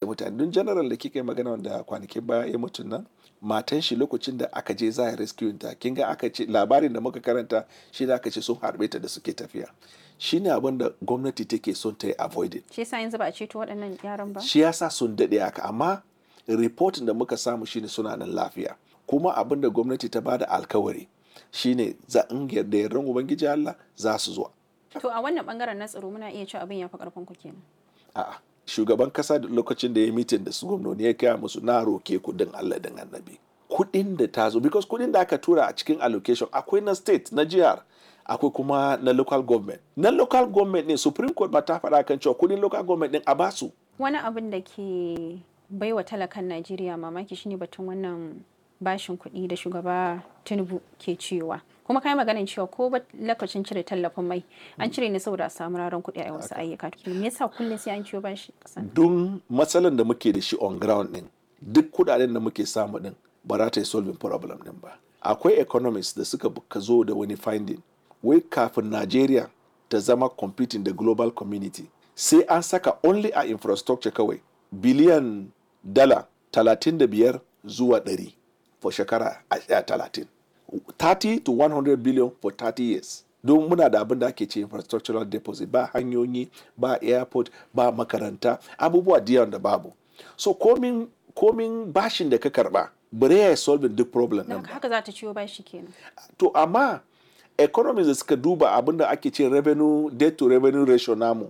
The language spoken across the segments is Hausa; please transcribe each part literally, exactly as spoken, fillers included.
mutane. Don general da kika yi magana wanda kwanakin baya ya mutu nan, matan shi lokacin da aka je za a rescue ta, kin ga aka ce labarin da muka karanta shi da aka ce sun harbe ta da suke tafiya. Shine abin da gwamnati take son ta yi avoiding. Shi yasa yanzu ba a ceto waɗannan yaran ba? Shi yasa sun daɗe haka, amma reportin da muka samu shine suna nan lafiya. Kuma abin da gwamnati ta bada alkawari shine za in yarda yardan Ubangiji Allah za su zo. To a wannan bangaren na tsaro muna iya cewa abin ya fi karfin ku kenan. A'a, shugaban kasa da lokacin da ya mitin da su gwamnoni ya kaya musu, na roke ku din Allah din Annabi. Kuɗin da ta zo, because kuɗin da aka tura a cikin allocation akwai na state, na jihar, akwai kuma na local government. Na local government ne Supreme Court ba ta faɗa kan cewa kuɗin local government din a basu. Wani abin da ke baiwa talakan Najeriya mamaki shine batun wannan bashin kuɗi da shugaba Tinubu ke cewa. Kuma kai maganin cewa ko ba lokacin cire tallafin mai an cire ne saboda a samu raran kuɗi a wasu ayyuka. Me yasa kullum sai an ciwo bashi ƙasa? Don matsalan da muke da shi on ground din, duk kuɗaɗen da muke samu din ba za ta yi solving problem din ba. Akwai economists da suka ka zo da wani finding wai kafin Nigeria ta zama competing da global community sai an saka only a infrastructure kawai biliyan dala talatin da biyar zuwa ɗari for shekara a talatin. thirty to one hundred billion for thirty years. Don muna da abin da ake ce infrastructural deposit, ba hanyoyi, ba airport, ba makaranta, abubuwa da da babu. So komin komin bashin da ka karba bare ya solving duk problem din ba. Haka za ta ciwo bashi kenan. To amma economies da suka duba abin da ake ce revenue debt to revenue ratio namu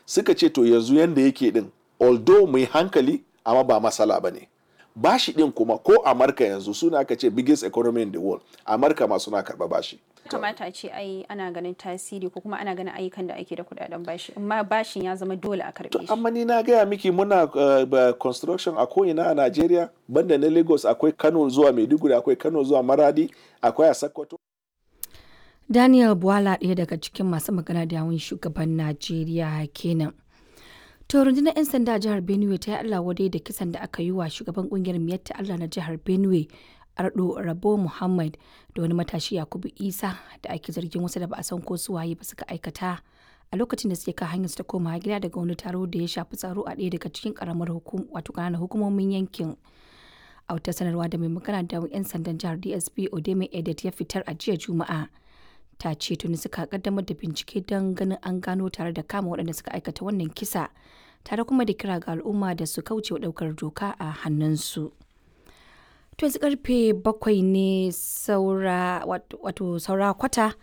suka ce to yanzu yanda yake din, although mu yi hankali, amma ba masala ba ne. Bashi din kuma ko Amurka yanzu suna aka ce biggest economy in the world, Amurka ma suna karba bashi. Kamata a ce ai ana ganin tasiri ko kuma ana ganin ayyukan da ake da kudaden bashi, amma bashin ya zama dole a karbe shi. Amma ni na gaya miki muna uh, construction a ko'ina a Najeriya, banda na Lagos, akwai Kano zuwa Maiduguri, akwai Kano zuwa Maradi, akwai a Sokoto. Daniel Bwala, ɗaya daga cikin masu magana da yawun shugaban Najeriya kenan. To rundunar 'yan sanda a jihar Benue ta yi Allah wadai da kisan da aka yi wa shugaban kungiyar Miyatta Allah na jihar Benue, Ardo Rabo Muhammad, da wani matashi Yakubu Isa da ake zargin wasu da ba a san ko su waye ba suka aikata a lokacin da suke kan hanyar su ta koma gida daga wani taro da ya shafi tsaro a ɗaya daga cikin karamar hukum wato ƙananan hukumomin yankin. A wata sanarwa da mai magana da 'yan sandan jihar D S P Odeme Edet ya fitar a jiya Juma'a, ta ce tuni suka kaddamar da bincike don ganin an gano tare da kama waɗanda suka aikata wannan kisa, tare kuma da kira ga al'umma da su kauce wa ɗaukar doka a hannunsu. To yanzu karfe bakwai ne saura wato saura kwata.